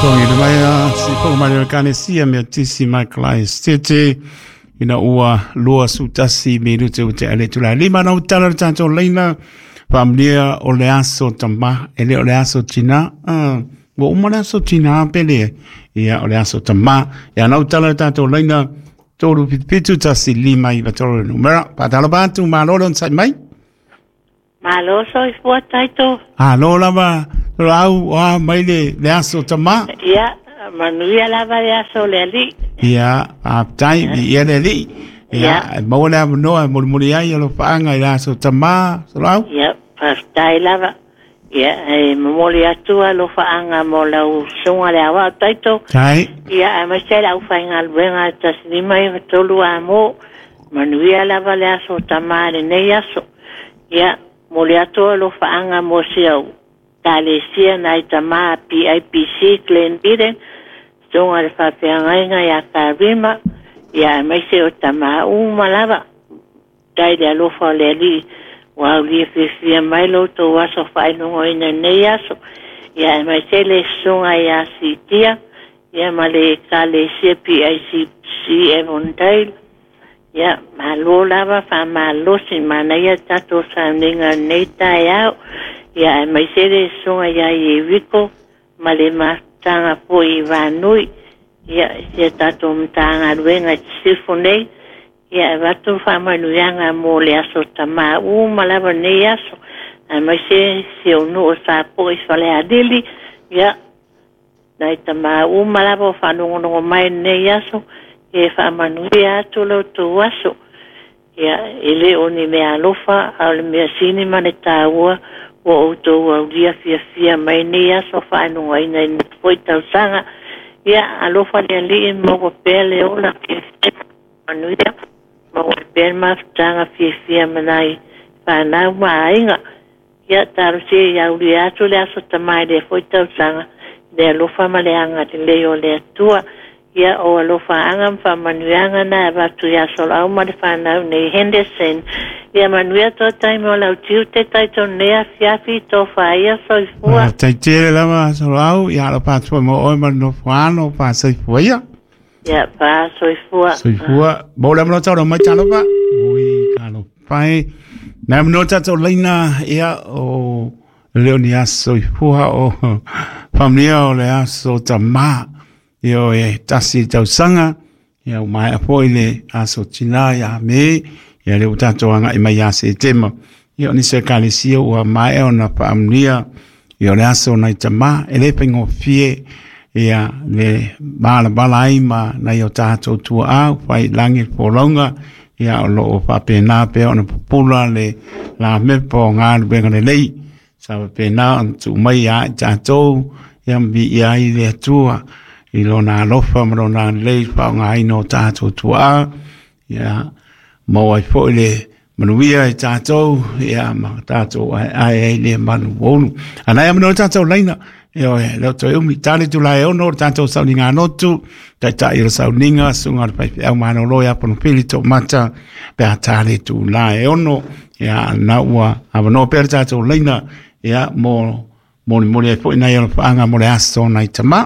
Togi mai a si po mai le kanesia me tisi mai klai city ina ua 21 minute o te ale tula lima na utala le tātou leina faamanuia o le aso tamā e le o le aso tina ua uma le aso tina pele ia o le aso tamā ia na utala le tātou leina 377 159 3 numera patalo atu malo le onosai mai. Malo soifua taito. Alo lava au a mai le aso tamā. Ia, manuia lava le aso le ali. Ia, faafetai ia le alii. Ia, maua le avanoa e molimoli ai alofaga i le aso tamā solau. Ia, faafetai lava. Ia, e momoli atu alofaaga mo lau susuga le aoao taito. Tai. Ia, aemaise ai le aufaigaluega 153 a mo. Manuia lava le aso tamā lenei aso. Ia, moli atu alofaaga mo si au ekalesia nai tamā PIPC Glen Eden, susuga le faafeagaiga ia Karima, ia aemaise o tamā uma lava. Tai le alofa o le alii ua aulia fiafia mai lo outou aso faailogoina nei aso. Ia aemaise le susuga ia Sitia, ia ma le ekalesia PICC Avondale. Ia, malo lava faamalosi manaia tatou sauniga nei taeao. Ia aemaise le susuga ia Ieriko ma le mafutaga foi i Vanui. Ia, si a tatou Matagaluega i Sisifo nei. Ia, e avatu faamanuiaga mo le aso tamā uma lava nei aso. Aemaise si ou nuu o Sapoe i Falealili. Ia, nai tamā uma lava o faalogologo mai lenei aso, e faamanuia atu lo outou aso. Ia, e le o ni mea alofa, a o le mea sini ma le taua, ua outou aulia fiafia mai nei aso faailogaina i lenei foi tausaga. Ia, alofa le alii maua pea le ola fiafia manuia, maua pea le mafutaga fiafia ma nai fanau ma aiga. Ia, talosia ia aulia atu le aso tamā i lea foi tausaga, le alofa ma le agalelei o le Atua. Ia, o alofaaga ma faamanuiaga na e avatu iā Soloau ma le fanau nei Henderson. Ia manuia toa taimi o lau tiute taitonu nei afiafi tofa ia soifua. Tai tele lava solau ia alo patua mo oe ma le nofo alo pa soifua ia. Ia, pa soifua. Soifua. Mo le amano tau mai talofa. Ui kalo pai. Na amano tātou leina ia o leo ni aso soifua o faamanuia o le aso tamā. Ia o e tasi tausaga ia o mai foi le aso tina ia me ia le o tātou anga i mai ia Setema. Ia o nisi ekalesia ua maea ona faamanuia ia o le aso nai tamā e le faigofie ia le malabala ai ma nai o tātou tuaau fai langi le folauga ia o loo faapena pea ona pupula le la mepa o galuega lelei sa faapena ona tuu mai ia i tātou ia ma viia ai le Atua i lona alofa ma lona lelei faaaogaina o tātou tuaa ia maua ai foi le manuia i tātou ia ma tātou aeae ai le manu olu. Anai amano tātou laina ia oe leo toe umi tale tu lae ono o tātou sauniga anotu taitai o le sauniga suga o le faifeau malolo ia ponopili to mata pe a tale tu lae ono ia na ua avanoa pea le tātou laina ia mo molimoli ai foi nai alofaaga mo le aso nai tamā.